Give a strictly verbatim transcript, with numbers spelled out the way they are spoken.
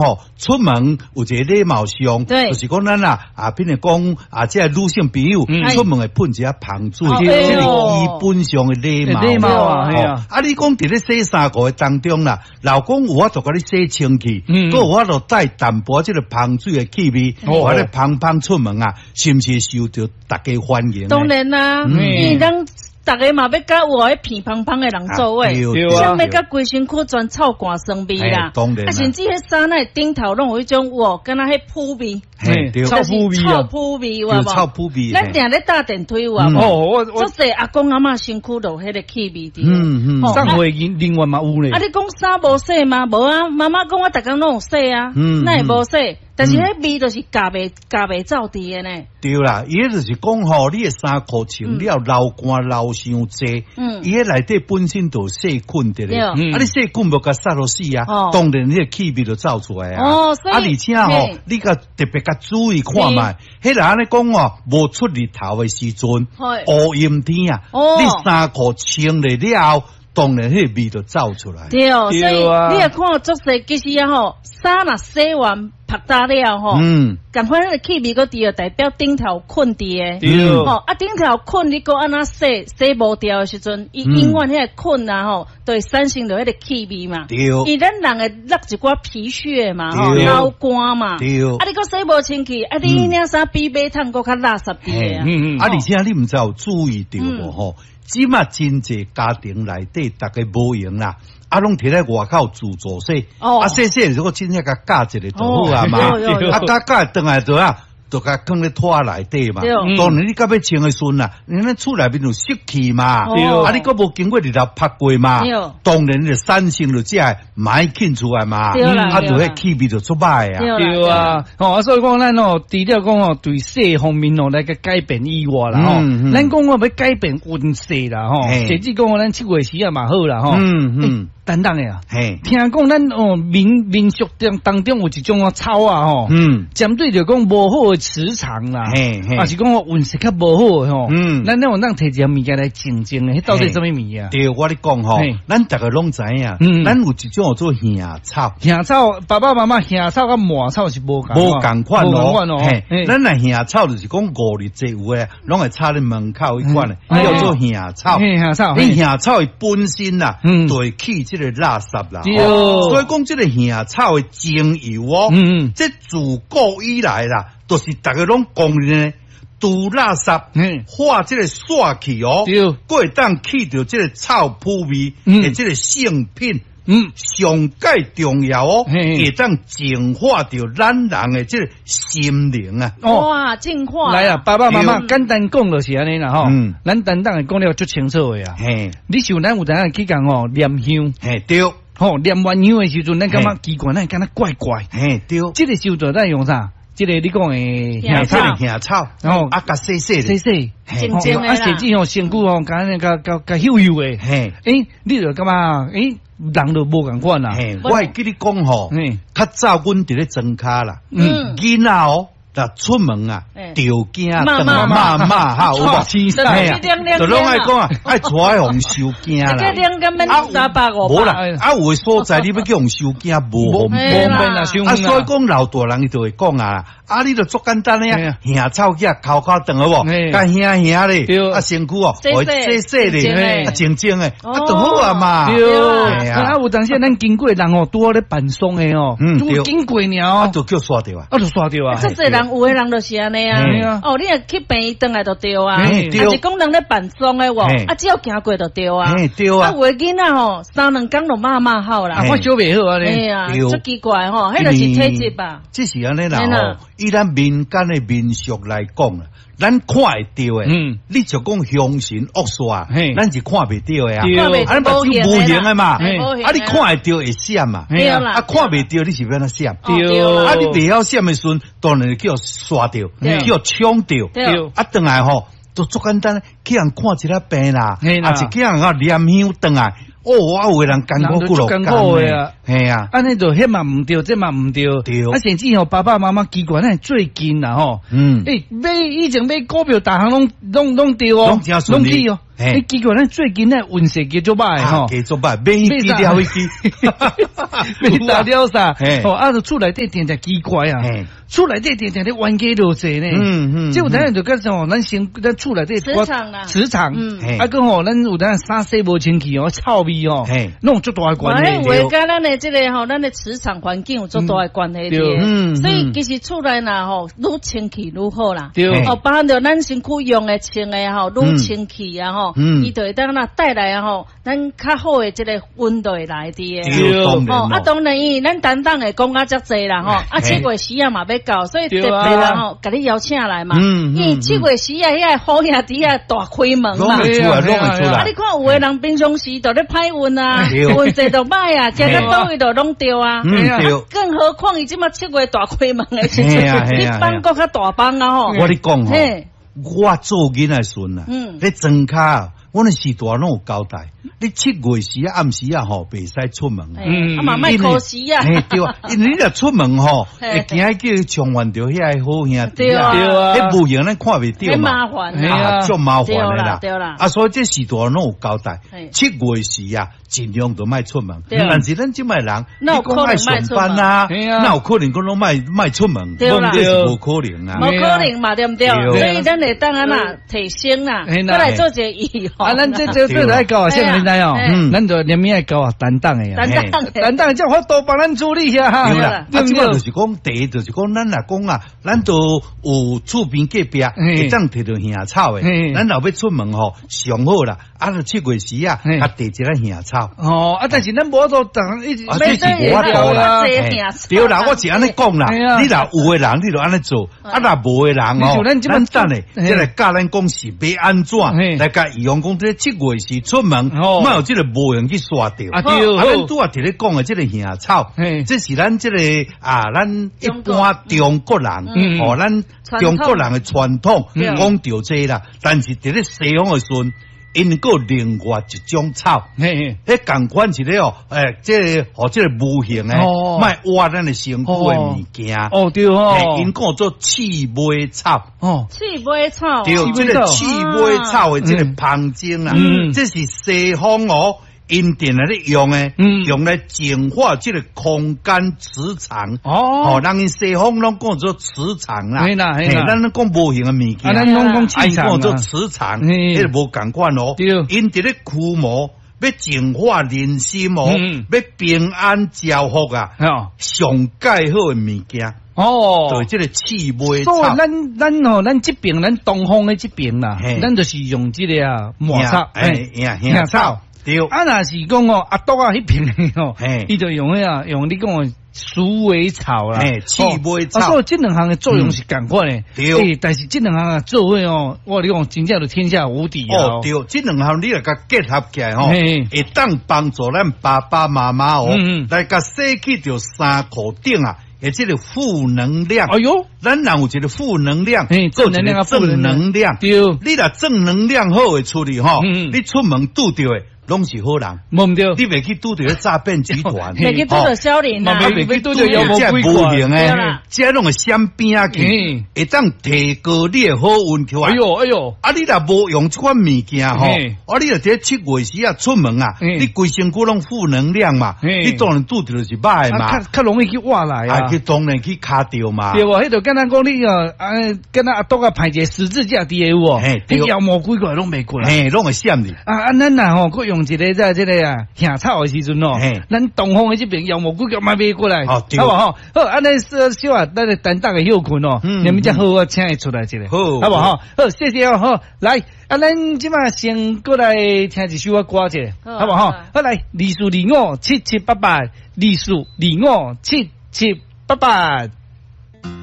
吼，出門有一個禮貌上，對就是講咱啊啊，比如講啊，這個女性朋友嗯出門會噴一下芳水，哦這是對基本上的禮貌。禮貌啊，嘿啊，啊，你講佇咧洗衫褲的當中啦，老公有法度共你洗清氣，嗯閣有法度帶淡薄這個芳水的氣味，哦或者芳芳出門啊，是毋是受著大家歡迎呢？當然啦，嗯因為咱逐家嘛欲佮有彼鼻芳芳的人做伙，啊對啊啥欲佮規身軀全臭汗酸味啦嘿，當然啦啊，甚至彼衫仔的頂頭攏有彼種哇，敢若彼腐味，嘿，對，臭腐味啊臭腐味有無？對臭腐味。咱定咧搭電梯有啊嗯無？哦，我我足濟阿公阿嬤身軀就有彼個氣味佇。嗯嗯吼送貨人人員嘛有咧啊，，你講衫無洗嗎？無啊，媽媽講我逐工攏有洗啊，嗯哪會無洗？但是彼味就是咬袂咬袂走佇的呢。對啦，伊彼就是講吼，你的衫褲穿了流汗流傷濟，嗯伊彼內底本身就有細菌佇咧，對啊，你細菌無共殺落死啊哦，當然你的氣味就走出來啊。哦所以啊，而且吼嘿，你共特別共注意看覓，彼人按呢講哦，無出日頭的時陣，嘿烏陰天啊，哦你衫褲穿了了後，當然彼個味就走出來。對，所以對啊你若看足濟，其實啊吼，衫若洗完曝焦了吼，嗯，仝款彼個氣味閣佇就代表頂頭菌佇的。對吼，啊頂頭菌你閣按怎洗洗無掉的時陣，伊嗯永遠彼个菌啊吼，就會產生著彼個氣味嘛。對因為咱人會落一寡皮屑嘛，吼，對流汗嘛。對啊，你閣洗無清氣，啊，你領衫比馬桶閣較垃圾佇的啊。嗯嗯啊，而且你毋知有注意著無吼？這馬真濟家庭內底，逐家無閒啦，啊，攏提來外口自助洗，哦啊，洗洗如果真正共絞一下就好啊嘛，哦有有啊，絞絞轉來就啊。就共囥咧拖內底嘛，對當然你到尾穿的時陣啊，你咱厝內面有濕氣嘛，對啊，你閣無經過日頭曝過嘛對，當然就產生著這个霾菌出來嘛，對啦啊，就對啦彼氣味就出歹啊。對對啊，吼啊，所以講咱哦，除了講哦，對勢方面哦來共改變以外啦吼嗯嗯，咱講哦欲改變運勢啦吼，嘿甚至講咱七月時啊嘛好啦吼，嗯嗯，等等的啊，嘿，聽講咱哦民民俗當當中有一種哦草啊吼，嗯，針對著講無好的磁場啦，嘿嘿啊是講哦運勢較無好的吼，嗯咱咱有當提一个物件來淨淨的，彼到底啥物物件？對，我咧講吼嘿，咱逐家攏知影，嗯咱有一種叫做耳草，耳草，爸爸媽媽耳草佮麻草是無仝，無仝款無仝哦款哦。嘿嘿咱若耳草就是講五日祭有的，攏會插咧門口彼款的，嗯叫做耳草。嘿耳草，嘿你耳草的本身啦，嗯就會去這個垃圾啦。對哦所以講這個耳草的精油哦，嗯嗯這自古以來啦，就是逐家攏公認的，除垃圾嗯，化這個煞氣哦，對閣會當去著這個臭腐味嗯的這個聖品。嗯，上蓋重要哦，嘿會當淨化著咱人的這個心靈啊。哦。哇，淨化。來啊，爸爸媽媽對簡單講就是按呢啦吼嗯，咱單單會講了足清楚的啊。嘿，你想咱有當時去共吼念香，嘿對，吼念完香的時陣，咱感覺嘿奇怪，咱會感覺怪怪。嘿對，這個時陣咱用啥？這個你講的耳這草個耳草，哦啊，共洗洗咧，洗洗，嘿淨淨的啦啊，甚至吼身軀吼，共按呢共共共溴溴的。嘿，欸，你就感覺欸，人就無仝款啦。嘿，我會記你講吼嘿，較早阮佇咧莊跤啦，嗯囡仔哦，若出門啊嘿，著驚罵轉來罵罵哈，有無？天就嘿啊去兩兩就攏愛講啊，愛帶予人收驚啦。這兩個免三百五無啦百。，啊有的所在你欲叫人收驚，無方嘿便。方便啊，傷啊，遠所以講老大人伊就會講啊，啊，你就足簡單的啊，耳草去摳摳轉好無？嘿共耳耳咧，對啊身軀哦，洗予洗洗洗咧，淨啊淨淨的，哦啊就好啊嘛。對，嘿啊啊有當時咱經過的人吼，拄好咧辦喪的吼，嗯對拄經過爾哦，啊就叫煞著啊。啊就煞著啊足。濟人有的人就是按呢嘿啊。哦，你若去病院轉來就對啊。嘿對啊是講人咧辦喪的無嘿啊，只要行過就對啊。嘿對啊啊，有的囡仔吼，三兩工就罵罵號啦啊，。我小袂好啊哎咧，呀，對足奇怪吼，彼就是體質吧。這是按呢啦嘿啦吼，以咱民間的民俗來講啦，咱看會著的，嗯你就講凶神惡煞嘿，咱是看袂著的啊，對看袂啊，你目睭無形的嘛，嘿啊，你看會著會閃嘛，嘿對啦啊，看袂著你是欲按怎閃？哦對啊，你袂曉閃的時陣，當然就叫煞著，對叫搶著，對啊，轉來吼，就足簡單，去人看一下病啦，嘿啦啊，是去人啊念香轉來，哦，啊，有的人艱苦幾落人就足艱苦的啊，嘿啊，按呢就彼嘛毋對，這嘛毋對。對啊，甚至吼爸爸媽媽奇怪，咱最近啦吼，嗯，欸，買以前買股票，逐項攏攏攏對哦，攏真順利攏去哦。欸，奇怪，咱最近咧運勢加足歹吼，加足歹，買彼支了彼支，買啥了啥，哦，啊，就厝內底定定奇怪啊，厝內底定定咧冤家落濟呢，嗯嗯，這有當就講吼，咱先咱厝內底磁場啦，磁場，啊，閣吼，咱有當衫洗無清氣哦，臭味哦，攏有足大的關係。話佮咱的這個吼，咱的磁場環境有足大的關係的，所以其實厝內若吼愈清氣愈好啦。哦，包含著咱身軀用的穿的吼愈清氣啊吼，伊就會當若帶來啊吼，咱較好的這個溫度會來佇的。哦，啊，當然伊咱擔當會講啊遮濟啦吼，啊七月時啊嘛欲到，所以特別啦吼，共你邀請來嘛。因為七月時啊，遐個好兄弟啊大開門嘛。攏會出來，攏會出來。啊，你看有的人平常時就咧歹運啊，運勢就歹啊，行到佗位就攏著啊。更何況伊這馬七月大開門的時陣，你放閣較大放啊吼。我咧講吼，我做囡仔時陣啊，咧莊跤，阮的序大攏有交代，你七月時啊暗時啊吼，袂使出門。嗯，啊嘛莫可惜啊。嘿對啊，因為你若出門吼，會驚叫衝犯著遐个好兄弟啊，彼無形咱看袂著嘛，麻煩啊，足麻煩的啦。對啦。啊，所以這序大攏有交代，七月時啊，盡量都莫出門。但是咱這擺人，你講愛上班啊，哪有可能講攏莫莫出門？對啦，這是無可能啊。無可能嘛，對毋對？所以咱會當按怎提升啦，閣來做一個預防。啊，咱這這這來教啊，啥物你知哦？咱就連命愛教啊，擔當的啊，擔當，擔當，才有法度幫咱處理啊。對啦，啊，這擺就是講，第一就是講，咱若講啊，咱都有厝邊隔壁會當提著耳草的，咱若欲出門吼，上好啦，啊，就七月時啊，啊，提一个耳草。哦，啊，但是咱無法度當一直，啊，這是無法度啦。對啦，我是按呢講啦，你若有的人，你就按呢做；啊，若無的人哦，咱等下，這來教咱講是欲按怎來共預防講，這七月時出門，莫予這個無形去煞著。啊對，啊，咱拄仔佇咧講的這個耳草，這是咱這個啊，咱一般中國人，哦，咱中國人的傳統講著這啦。但是佇咧西方的時陣，𪜶閣有另外一種草，彼仝款是咧哦，欸，這個予這個無形的，莫挖咱的身軀的物件。哦對哦，𪜶講做刺尾草。哦，刺尾草。對，這個刺尾草的這個芳精啊，這是西方哦，𪜶定來咧用的，用來淨化這個空間磁場。哦，人𪜶西方攏講做磁場啦，嘿啦嘿啦，咱攏講無形的物件，咱攏講氣場，講做磁場，彼個無仝款哦。對，𪜶佇咧驅魔，欲淨化人心哦，欲平安招福啊，上蓋好的物件。哦，對，這個刺尾草。所以咱咱吼，咱這邊咱東方的這邊啦，咱就是用這個啊麻草，欸，耳草。對，啊，若是講哦，阿篤仔彼爿的吼，伊就用彼啊，用你講的鼠尾草啦，刺尾草。啊，所以這兩項的作用是仝款的。對，但是這兩項啊做伙哦，我跟你講真正就天下無敵啊。哦，對，這兩項你若共結合起來吼，會當幫助咱爸爸媽媽哦，來共洗去著衫褲頂啊。的這個負能量，哎喲，咱人有一個負能量，正能量，正能量，對，你若正能量好的出去吼，你出門拄著的攏是好人，無毋對，你袂去拄著詐騙集團，袂去拄著小人啊，袂去拄著妖魔鬼怪，這攏會閃邊仔去，會當提高你的好運起來。哎喲哎喲，啊你若無用這款物件吼，啊你若佇七月時啊出門啊，你規身軀攏負能量嘛，你當然拄著就是歹嘛，較較容易去挖來啊，去當然去卡著嘛。對無？彼就敢若講你哦，啊，敢若阿篤仔排一個十字架佇個有無？彼妖魔鬼怪攏袂過來，嘿，攏會閃你。啊啊，咱若吼，閣用一個在這個啊，耳草的時陣哦，咱東方的這邊妖魔鬼怪嘛袂過來，好無吼？好，按呢小小啊，咱的擔當的休睏哦，你們才好啊，請伊出來一下，好，好無吼？好，謝謝哦，好，來，啊，咱這馬先過來聽一首歌者，好無吼？好來，二四二五七七八八，二四二五七七八八。